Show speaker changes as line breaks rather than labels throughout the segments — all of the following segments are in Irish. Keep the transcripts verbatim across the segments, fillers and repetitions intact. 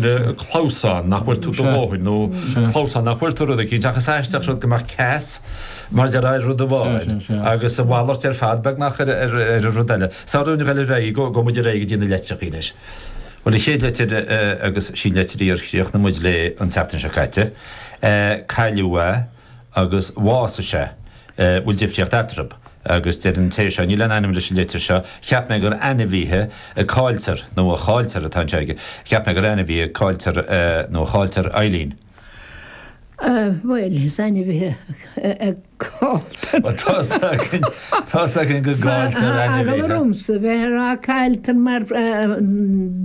Sin clamhsán nach bhfuair tú do dhóthain nó clamhsán nach bhfuair tú rud eicínt ach is aisteach rud go mbeadh ceas mar deir ar rud amháin agus a mhalairt ar fad beagnach ar ar ar an rud eile. Sara dúinn a ghoil ar aghaidh go go muid ar aghaidh go dtí na litreacha anois. Bhuel an chéad litir agus sí litir í ar chríochnaigh muid léi an tseachtain seo caite. Cailleadh é agus bhásaigh sé. Bhfuil difríocht eatarthu? Agus deir an té seo, níl aon ainm leis an litir seo, cheap mé gur ainmhithe a cailltear, nó a chailltear atá anseo aige, cheap mé gur ainmhithe a cailltear, nó a chailltear Eileen.
Bhuel, is ainmhithe a cailltear.
Bhuel, tá's againn, tá's againn go gcailltear ainmhithe.
Tá eagla ormsa bheith ag rá cailltear mar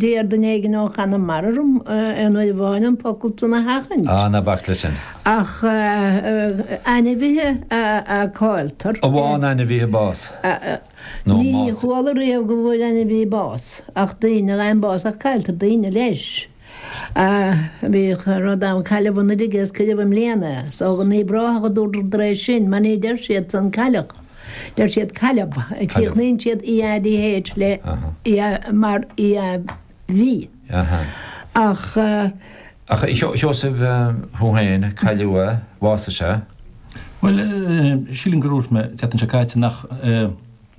deir duine éigin ó Chonamara orm aon uair amháin an focal san a sheachaint.
Á, ná bac leis sin.
Ach ainmhithe a cailltear.
A bhfaigheann ainmhithe bás? Nó
Ní
más.
chuala riamh go bhfuair ainmhí bás, ach daoine a fhaigheann bás, ach cailltear daoine leis. Bhíodh rud ann, cailleadh anuraidh é is cuireadh i mbliana é. Is ó Uíbh Ráthach a dúradar é sin, mar ní deir siad san cailleadh, deir siad cailleadh. Críochnaíonn siad E A D H le E A mar E A V. Ach.
Ach a Sheosaimh, thú féin, cailleadh é, bhásaigh sé.
Bhuel, sílim gur dhúirt mé an tseachtain seo caite nach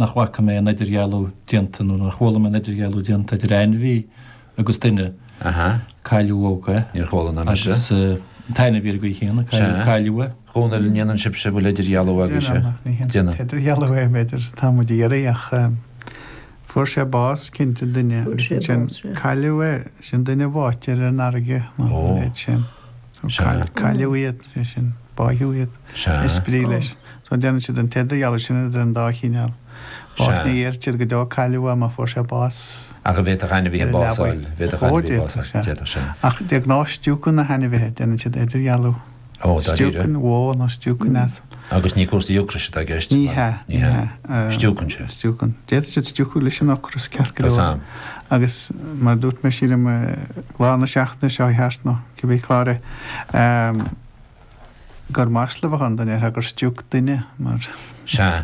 nach bhfaca mé aon idirdhealú déanta nó nár chuala mé aon idirdhealú déanta idir ainmhí agus duine. Cailleadh é.
Níor chuala ná mise.
Agus an t-ainmhí ar an gcaoi chéanna, cailleadh é.
A Dhónaill, an ndéanann sibhse, bhfuil idirdhealú agaibhse?
Déanann, ach ní hé an t-idirdhealú é, b'fhéidir, tá muid ag iarraidh ach. Fuair sé bás, cinnte, duine,
Fuair
agus
sé
ansin
bás, sea.
cailleadh é, sin duine bháite ar an fharraige nó a
Ó.
leithéid sin. So
Sea.
cail- cailleadh iad, sé sin, báitheadh iad,
Sea.
is brí leis. So déanann siad an t-idirdhealú sin idir an dá chineál. Báite
Sea.
ní dheir siad go deo cailleadh é má fuair sé bás
Ach an bhféadfadh ainmhithe
ar an
bás a
leabaidh.
fháil? Bhféadfadh
Ó,
ainmhithe bás a
d'fhéadfadh,
fháil,
sea.
d'fhéadfadh, sea.
Ach de ghnáth stiúcann na hainmhithe, déanann siad idirdhealú.
Ó, dáiríre?
Stiúcann bó nó stiúcann asal.
Agus ní cúrsaí ocrais atá i gceist?
Ní hea,
Ní
ní
hea.
hea.
Stiúcann sé.
Stiúcann. D'fhéadfadh siad stiúcadh leis an ocras ceart go
Tá
leor.
sam.
Agus mar a dúirt mé, sílim, lá na seachtaine seo thart nó cibé clár é, gur masla a bheadh ann dá ndéarfá gur stiúc duine mar.
Sea.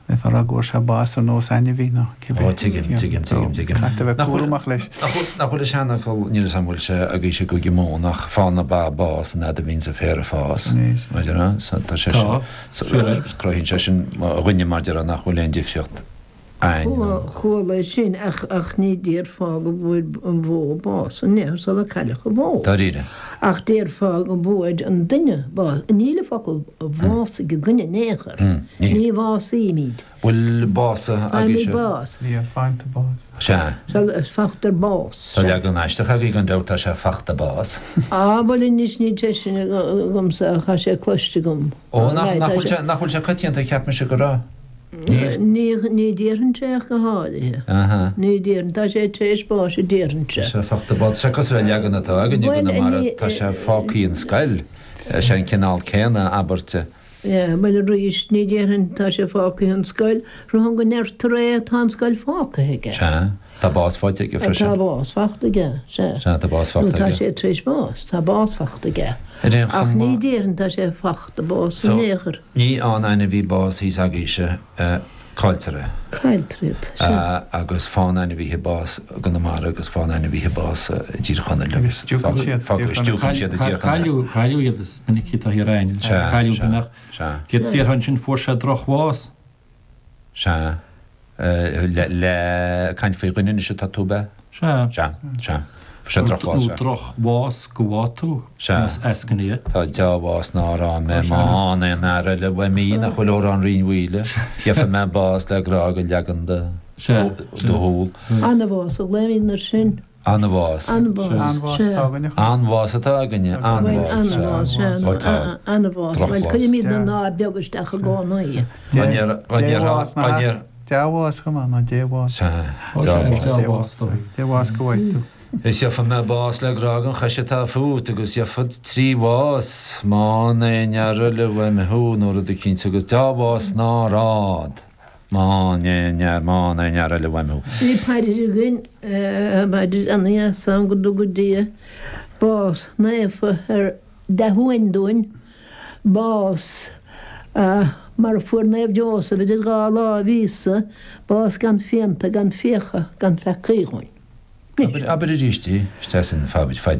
Bheifeá ag rá go bhfuair sé bás ar nós ainmhí nó cibé.
Ó, tuigim, tuigim, tuigim, tuigim.
Caithfidh a bheith
Nach bhfuil,
cúramach leis.
nach bhfuil, nach bhfuil an seanfhocal, níl 'fhios a'm bhfuil sé agaibhse i gCúige Mumhan ach faigheann na ba bás an fhad a bhíonns an féar ag fás.
Anois.
Mar a déarfá, so tá sé
Tá,
sin, so,
fíor é.
cruthaíonn sé sin do dhuine mar a déarfá nach bhfuil aon difríocht a'ainn nó.
Chuala é sin ach, ach ní déarfá go bhfuair an bhó bás an ea sula cailleadh an bhó.
Dáiríre.
Ach déarfá go bhfuair an duine bás. Níl an focal bhásaigh againne in aon chor.
Níl.
Ní bhásaímid.
Bhfuil básaithe
Faighimid
agaibhse?
bás.
Níl, faigheann tú bás.
Sea.
Sea, faightear bás.
Tá leagan aisteach agaibh gan dabht, tá sé fachta bás.
Á, bhuel anois níl sé sin agamsa ach tá sé cloiste agam.
Ó, nach, nach bhfuil sé, nach bhfuil sé coitianta, cheap mise go raibh. Níl.
Ní, ní déarfainnse ach go háirithe.
Aha.
Ní déarfainn, tá sé tar éis báis a déarfainnse.
Tá sé fachta bás. Tá sé cosúil le leagan atá againne i
Bhuel,
gConamara,
ní,
tá sé fágthaí an scoil. Sé an cineál céanna abairte.
Yeah, bhuel arís, ní déarfainn tá sé fágthaí an scoil, rothain go ndeirtear é tá an scoil fágtha aige.
Sea, tá bás faighte aige freisin.
Tá bás fachta aige, sea.
Sea, tá bás
Nó
fachta
tá
aige.
sé tar éis bás, tá bás fachta aige.
Ar aon
Ach
chuma.
ní déarfainn tá sé fachta bás
So,
in aon chor.
ní fhaigheann ainmhí bás thíos agaibhse, cailltear é.
Cailltear iad, sea.
Agus faigheann ainmhithe bás i gConamara agus faigheann ainmhithe bás i dTír Chonaill
Agus
agus
stiúcann siad
fág-
Tír Chonaill.
stiúcann siad i dTír Chonaill.
Cailleadh, cailleadh iad is minicí atá thiar againn.
Sea,
Cailleadh
sea,
duine ach
sea.
déarfá ansin fuair sé drochbhás.
Sea. Le, le caint faoi dhuine anois atá tú, ab ea?
Sea.
Sea, sea. Fuair sé drochbhás,
Nó
sea.
drochbhás go bhfaighidh tú
Sea.
más eascainí é.
Tá deá-bhás ná rá mé má fhaigheann aon fhear eile uaim í nach bhfuil órán Rinn Mhaoile, gheobhaidh mé bás le grá go leagan do
Sea,
do shúl.
Ana-bhás a ghlaoimid air sin.
Ana-bhás.
Ana-bhás,
An-bhás
sea.
atá againne.
An-bhás atá againne,
Bhuel,
an-bhás, sea.
ana-bhás, sea,
Ó tá.
ana-bhás. Bhuel,
Drochbhás.
cuirimid na ná beag isteach i gcónaí.
An ndéar, an ndéarfá, an ndéar.
Dea-bhás chomh maith ná débhás.
Sea,
Ó sea,
dea-bhás.
dea-bhás dóigh.
Débhás go bhfaighidh tú.
Is gheobhaidh mé bás le grá den chois atá fút agus gheobhad trí bhás má fhaigheann aon fhear eile uaim thú nó rud eicínt agus dea-bhás ná rád má fhaigheann aon fhear, má fhaigheann aon fhear eile uaim thú.
Bhí paidir againn, paidir ana-dheas ann go dtuga Dia bás naofa ar dea-shuain dúinn, bás mar a fuair Naomh Joseph idir dhá láimh Íosa, bás gan phianta, gan fiacha, gan pheacaí dhúinn.
Abair arís í, isteach san phaidir.